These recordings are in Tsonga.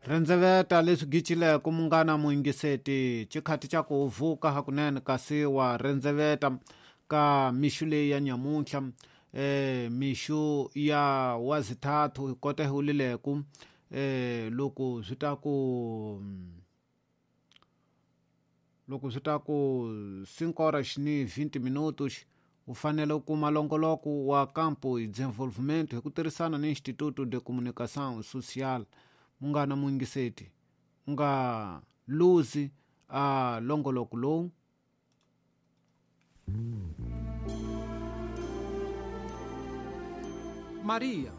Rendzeveta leswi gicileko munghana muyingiseti xikhati xa ku vuka hakunene kasi wa rendzeveta ka mixu leyi ya nyamuntlha mixu ya wazithathu hi kota hi wulileku loko swi ta ku loko swi ta ku 5 horas ni 20 minutos u fanele u kuma longoloko wa Campo e Desenvolvimento hi ku tirhisana ni Instituto de Comunicação Social. Munghana muyingiseti u nga luzi a longoloko lowu. Maria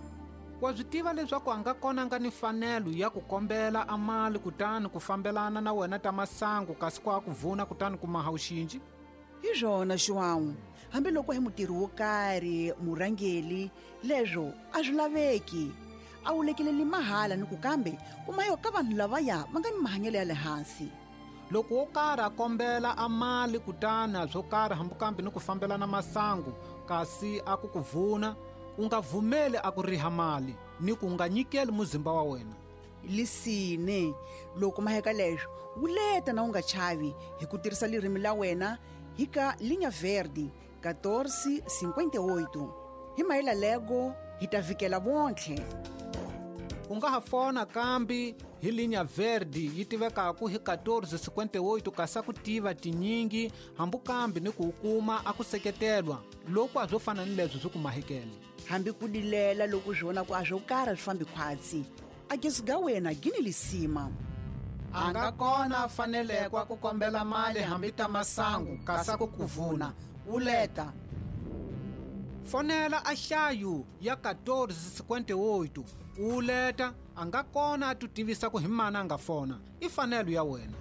wa swi tiva leswaku a nga kona nga ni mfanelo ya ku kombela a mali kutani ku fambelana na wena ta masangu kasi ku a ku vuna kutani ku maha uxinji? Hi swona João, hambiloko hi mutirhi wo karhi murhangeli leswo a swi laveki. A wu lekeleli mahala ni ku kambe kuma yo ka vanhu lavaya va nga ni mahanyelo ya le hansi. Loko wo karhi a kombela a mali kutani a swo karhi hambi kambe ni ku fambelana masangu kasi a ku ku vuna, u nga vumeli a ku riha mali ni ku nga nyikeli muzimba wa wena. Lisine, loko maheka leswo wuleta na u nga chavi hi ku tirhisa lirimi la wena hi ka Linha Verde 1458. Hi mahela lego hi ta vikela vontlhe. U nga ha fona kambi hi Linha Verde yi tivekaku hi 1458 kasi a ku tiva tinyingi hambi kambi ni ku u kuma a ku seketelwa loko a swo fana ni leswo swi ku mahekele. Hambi ku dilela loko swi vona ku a swo karhi swi fambi khwatsi, a gesu ga wena gini lisima. A nga kona a fanelekwa ku kombela mali hambi ta masangu kasi a ku ku vuna wuleta. Fonela a hlayu ya 1458 wuleta a nga kona a tu tivisa ku hi mana a nga fona i fanelo ya wena.